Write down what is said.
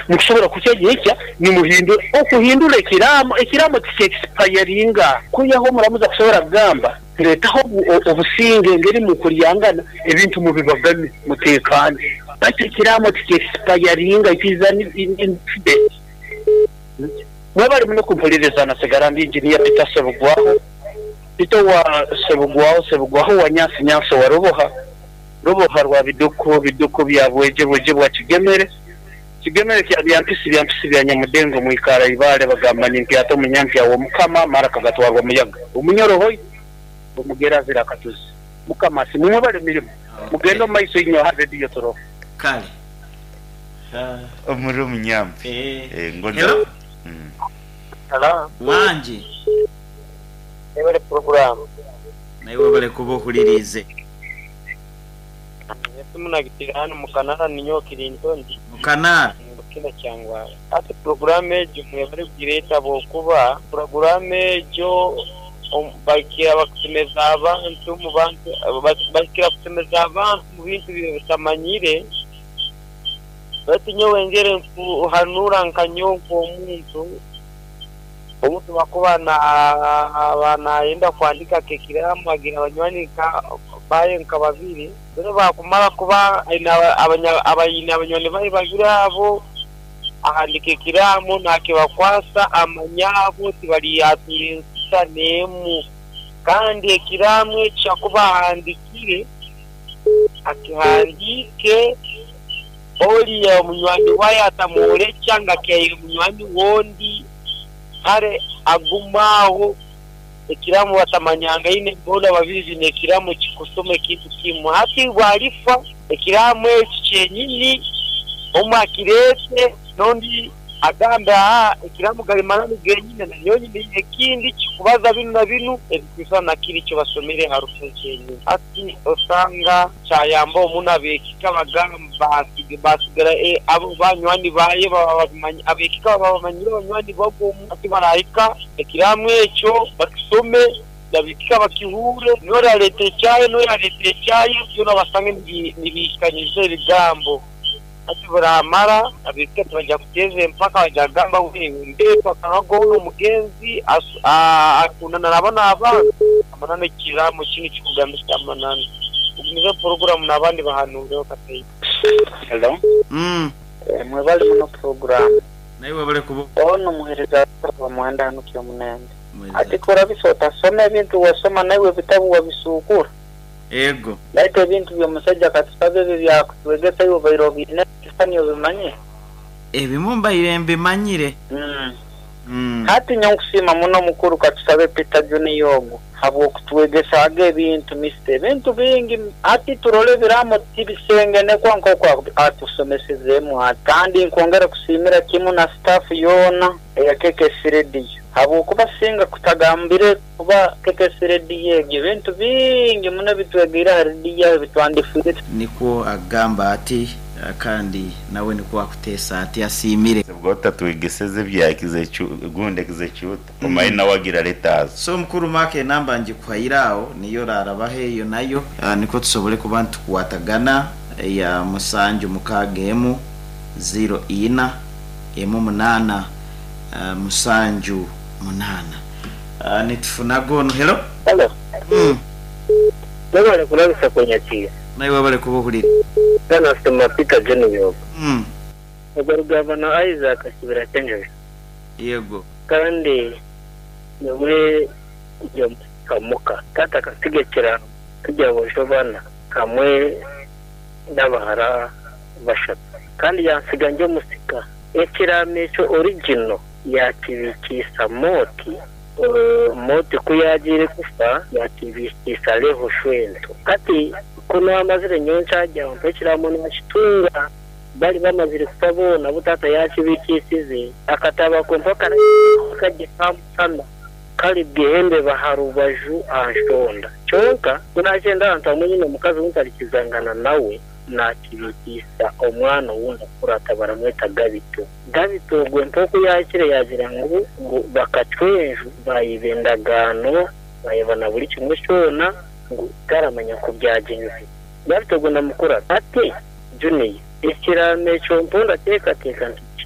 Mukusobora kukya nyenkya nimuhindura. Okuhindura ekiraamo, ekiraamo tikyekisipayaringa. Kwihaho omuramuzi akusobora kugamba, Tuleetaho obusinge engeri mukuryangana, ebintu mubibagane, muteekaane. Baitu ekiraamo tikyekisipayaringa, it is an incident. Mwebale muno kumpuliriza nasigara ndi Engineer Peter Ssebugwaho, Peter owa Ssebugwaho, Ssebugwaho owa Nyansi, Nyansi owa Ruboha, Ruboha rwa Biduku, Biduku bya Bwegye, Bwegye bwa Kigemere, Kigemere kya Byampisi, Byampisi bya Nyamudengo, Mwikaara Ibaale bagamba nimpyata omunyampya w'Omukama, Maraka gatwarwa muyaga. Omunyoro hoi, Omugera azira akatuzi. Mukama asiimwe mwebale emirimo. Mugende omu maiso inywe aha Radio Toroho. Kale. Omuri omunyampi. Eh. Ngonza. Hello. Hello. Wangi. Webale program. Naiwe webale kuba ohuririize. Esimu nagitiire hanu mukanara ninyowe Kirintondi. Mukanara. Bukina Kyangwara. Hati puroguramu egyo mwebale kugireeta habwokuba puroguramu egyo bakira bakusemeza abantu omu bantu bakira kusemeza abantu omu bintu ebi batamanyire. Baitu nyowe ngere nkuhanura nka nyowe nk'omuntu, omuntu obu akuba naaba nayenda kuhandika nk'ekiraamo agira abanywani baye nka babiri, reero baakumara kuba aine abanywani baye babiri abo, ahandika ekiraamo naakibakwasa amanya abo tibaryatura ensita n'emu. Kandi ekiraamo eki akuba ahandikire, Akihandiike, Oriya omunywani waye atamworekya ngu akihaire munywani we ondi, kare agume aho ekiramu batamanyangaine boona babiri baine ekiramu ekikusoma ekintu kimwe. Hati bwarifa ekiramu eki kyenyini omwe akireete n'ondi agambe aa ekiramu gari mananu genyine nanyowe nyine ekindi kikubaza binu na binu ebikwisana na kiri ekibasomire aha rufu kyenyini. Hati osanga kyayamba omu n'ab'ekika bagamba basigara abo banywani baye baba ab'ekika baba bamanyire banywani babo omu. Hati barahika ekiramu ekyo bakisome n'ab'ekika bakihuure, n'ori areeta ekyaye n'ori areeta ekyaye byona basange nibihikanyiza ebigambo. Hati buramara, ab'ekika tibaija kuteeza empaka, baija kugamba ngu mbeetu akanwa koona omugenzi akundana na banu abantu. Amananu ekiraamo kinu kikugambisa amananu. Ogumize puroguramu n'abandi bahanuureho kataito. Hello. Mwebale muno puroguramu. Naiwe webale kuba. Ono omuhereza wa Mwenda hanu Kyomunende. Ati korabisa otasoma ebintu wasoma naiwe ebitabu wabisukura. Ego. Baitu ebintu by'omusaija katusabe ebyo ebyakutwegesa iwe obaire obiine ekisisani obimanyire? Ebimu mbaire mbimanyire. Hati nyowe nkusiima muno mukuru Katusabe Peter Junior ogu habw'okutwegesaaga ebintu Mister ebintu bingi hati turole ebiraamo tibisengenekwa nk'oku atusomesezeemu ati. Kandi nkwongera kusiimira kimu na staff yoona eya KKC Radio habw'okuba singa kutagambire Kuba KKC rediyo egyo ebintu bingi muno ebi twegeire aha rediyo aho ebi twandifiire. Nikwo akugamba ati, kandi nawe nikwo akuteesa ati, Asiimire. Bwa otatwegeseze ebya gundi executa omaye nawe agira letters. So mukuru Mark enamba ngikuhaire aho niyo orarabaho eyo nayo nikwo tusobole kuba nitukwatagana eya musanju mukaaga emu ziro ina emu munaana musanju munaana. Nitufunaga onu. Hello. Hello. Webale kulabisa kwenyakiire. Naiwe webale kuba ohurire. Bwana Sema Peter Junior ogu. Ogwo Rugabano Isaac Kibira Kyenjojo. Yego. Kandi nyowe ndi omusika muka. Taata akasiga ekiraamo turi aboojo bana hamwe n'abahara bashatu. Kandi yansiga ndi omusika. Ekiraamo ekyo original Yaakibiikiisa Moti. Moti ku yaagiire kufa, yaakibiikiisa Lehu shwento. Hati ku naamazire nyowe nkyagya mpa ekiraamo naakitunga. Bari bamazire kufa boona abu taata yaakibiikiisize. Akatabo ako mpaka kagye kamusana kari bwihembeba aha rubaju aha nshonda. Kyonka ku naagyenda ahantu hamwe nyine omukazi ou ntarikizangana nawe, naakibiikiisa omwana ou ndakurata baramweta Gabito. Gabito ogwo nk'oku yaahikire yaagira ngu ngu bakacwa enju baayiba endagaano baayeba na buri kimwe kyona ngu taramanya ku byagyenzire. Gabito ogwo namukurata ati, Junior, ekiraamo ekyo mpo ndateekateeka nti.